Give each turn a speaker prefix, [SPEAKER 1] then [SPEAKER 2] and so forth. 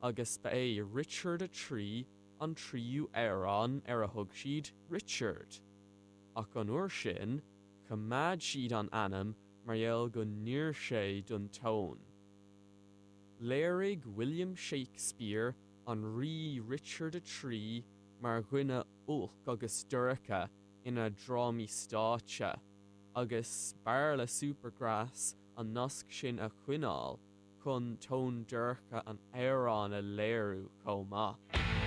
[SPEAKER 1] agus ba é Richard 3 an tríú amhrán ar a thug siad Richard. Ach an uair sin, choimeád siad an ainm mar gheall go n-oir sé don tón. Léirigh William Shakespeare an Rí Richard 3 mar dhuine olc agus dorcha ina dhrámaí stáitse, agus b'fhearr le Supergrass an nasc sin a choinneáil chun tón dorcha an amhráin a léiriú chomh maith.